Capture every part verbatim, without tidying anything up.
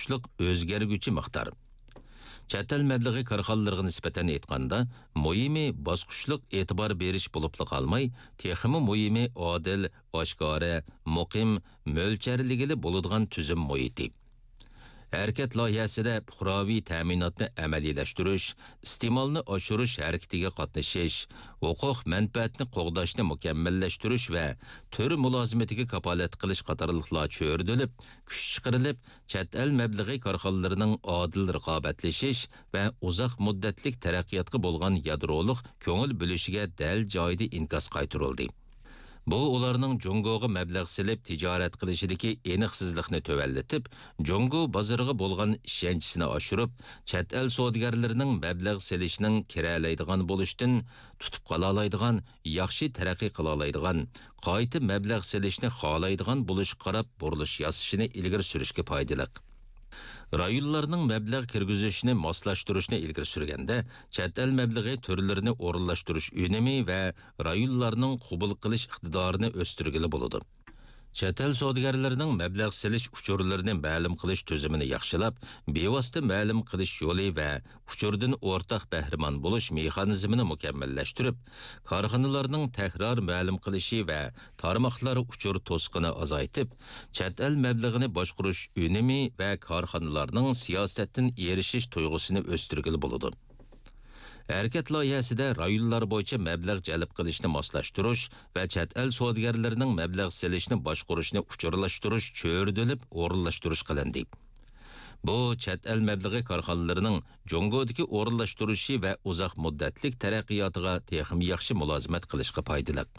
تىپلىق ئۆزگەرگۈچى مىقدار. چەت ئەل مەبلىغى كارخانىلىرىغا نىسبەتەن ئېيتقاندا، مۇھىمى باسقۇچلۇق ئېتىبار بېرىش بولۇپلا قالماي، تېخىمۇ مۇھىمى ئادىل، ئاشكارا، مۇقىم، مۆلچەرلىگىلى بولىدىغان تۈزۈم مۇھىتى. ھەرىكەت لايىھەسىدە پۇقراۋى تەمىناتنى ئەمەلىيلەشتۈرۈش، ئىستېمالنى ئاشۇرۇش ھەرىكىتىگە قاتنىشىش، ھوقۇق مەنپەئەتنى قوغداشنى مۇكەممەللەشتۈرۈش ۋە تۈر مۇلازىمىتىگە كاپالەتلىك قىلىش قاتارلىقلار چۆرىدىلىپ، كۈچ چىقىرىلىپ، چەت ئەل مەبلىغى كارخانىلىرىنىڭ ئادىل رىقابەتلىشىش ۋە ئۇزاق مۇددەتلىك تەرەققىياتقا بولغان يادرولۇق كۆڭۈل بۆلۈشىگە دەل جايىدا ئىنكاس قايتۇرۇلدى. بۇ ئۇلارنىڭ جۇڭگوغا مەبلەغ سېلىپ تىجارەت قىلىشىدىكى ئېنىقسىزلىقنى تۆۋەنلىتىپ، جۇڭگو بازىرىغا بولغان ئىشەنچىسىنى ئاشۇرۇپ، چەت ئەل سودىگەرلىرىنىڭ مەبلەغ سېلىشنىڭ كىرەلەيدىغان بولۇشتىن تۇتۇپ قالالايدىغان، ياخشى تەرەققىي قىلالايدىغان، قايتا مەبلەغ سېلىشنى خالايدىغان بولۇشقا قاراپ بۇرۇلۇش ياسىشىنى ئىلگىرى سۈرۈشكە پايدىلىق. رايونلارنىڭ مەبلەغ كىرگۈزۈشىنى ماسلاشتۇرۇشنى ئىلگىرى سۈرگەندە، چەت ئەل مەبلىغى تۈرلىرىنى ئورۇنلاشتۇرۇش ئۈنۈمى ۋە رايونلارنىڭ قوبۇل قىلىش ئىقتىدارىنى ئۆستۈرگىلى بولىدۇ. چەت ئەل سودىگەرلىرىنىڭ مەبلەغ سېلىش ئۇچۇرلىرىنى مەلۇم قىلىش تۈزۈمىنى ياخشىلاپ، بىۋاسىتە مەلۇم قىلىش يولى ۋە ئۇچۇردىن ئورتاق بەھرىمەن بولۇش مېخانىزمىنى مۇكەممەللەشتۈرۈپ، كارخانىلارنىڭ تەكرار مەلۇم قىلىشى ۋە تارماقلار ئۇچۇر توسۇقىنى ئازايتىپ، چەت ئەل مەبلىغىنى باشقۇرۇش ئۈنۈمى ۋە كارخانىلارنىڭ سىياسەتتىن ئېرىشىش تۇيغۇسىنى ئۆستۈرگىلى بولىدۇ. ھەرىكەت لايىھەسىدە رايونلار بويىچە مەبلەغ جەلپ قىلىشنى ماسلاشتۇرۇش ۋە چەت ئەل سودىگەرلىرىنىڭ مەبلەغ سېلىشنى باشقۇرۇشنى ئۇچۇرلاشتۇرۇش چۆرىدىلىپ ئورۇنلاشتۇرۇش قىلىندى. بۇ چەت ئەل مەبلىغى كارخانىلىرىنىڭ جۇڭگودىكى ئورۇنلاشتۇرۇشى ۋە ئۇزاق مۇددەتلىك تەرەققىياتىغا تېخىمۇ ياخشى مۇلازىمەت قىلىشقا پايدىلىق.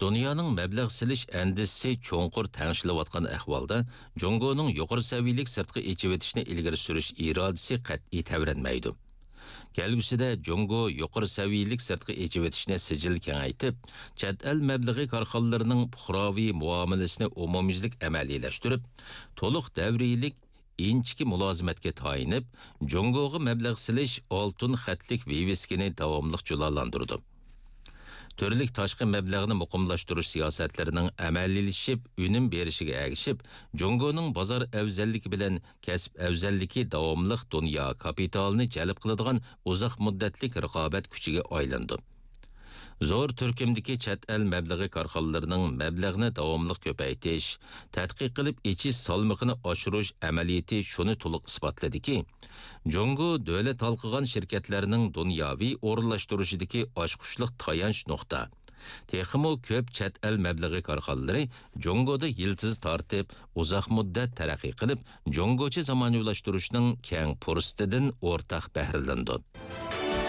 دۇنيانىڭ مەبلەغ سېلىش ئەندىزىسى چوڭقۇر تەڭشىلىۋاتقان ئەھۋالدا، جۇڭگونىڭ يۇقىرى سەۋىيەلىك سىرتقا ئېچىۋېتىشنى ئىلگىرى سۈرۈش ئىرادىسى قەتئىي تەۋرەنمەيدۇ. كەلگۈسىدە جۇڭگو يۇقىرى سەۋىيەلىك سىرتقا ئېچىۋېتىشنى سىجىل كېڭەيتىپ، چەت ئەل مەبلىغى كارخانىلىرىنىڭ پۇقراۋى مۇئامىلىسىنى ئومۇميۈزلۈك ئەمەلىيلەشتۈرۈپ، تولۇق دەۋرىيلىك ئىنچىكە مۇلازىمەتكە تايىنىپ، جۇڭگوغا مەبلەغ سېلىش ئالتۇن خەتلىك ۋىۋىسكىنى داۋاملىق جۇلالاندۇرىدۇ. تۈرلۈك تاشقى مەبلەغنى مۇقىملاشتۇرۇش سىياسەتلىرىنىڭ ئەمەلىيلىشىپ، ئۈنۈم بېرىشىگە ئەگىشىپ، جۇڭگونىڭ بازار ئەۋزەللىكى بىلەن كەسىپ ئەۋزەللىكى داۋاملىق دۇنيا كاپىتالىنى جەلپ قىلىدىغان ئۇزاق مۇددەتلىك رىقابەت كۈچىگە ئايلىنىدۇ. زور تۈركۈمدىكى چەت ئەل مەبلىغى كارخانىلىرىنىڭ مەبلەغنى داۋاملىق كۆپەيتىش، تەتقىق قىلىپ ئېچىش سالمىقىنى ئاشۇرۇش ئەمەلىيىتى شۇنى تولۇق ئىسپاتلىدىكى، جۇڭگو دۆلەت ھالقىغان شىركەتلەرنىڭ دۇنياۋى ئورۇنلاشتۇرۇشىدىكى ئاچقۇچلۇق تايانچ نۇقتا. تېخىمۇ كۆپ چەت ئەل مەبلىغى كارخانىلىرى جۇڭگودا يىلتىز تارتىپ، ئۇزاق مۇددەت تەرەققىي قىلىپ، جۇڭگوچە زامانىۋىلاشتۇرۇشنىڭ كەڭ پۇرسىتىدىن ئورتاق بەھرىلىنىدۇ.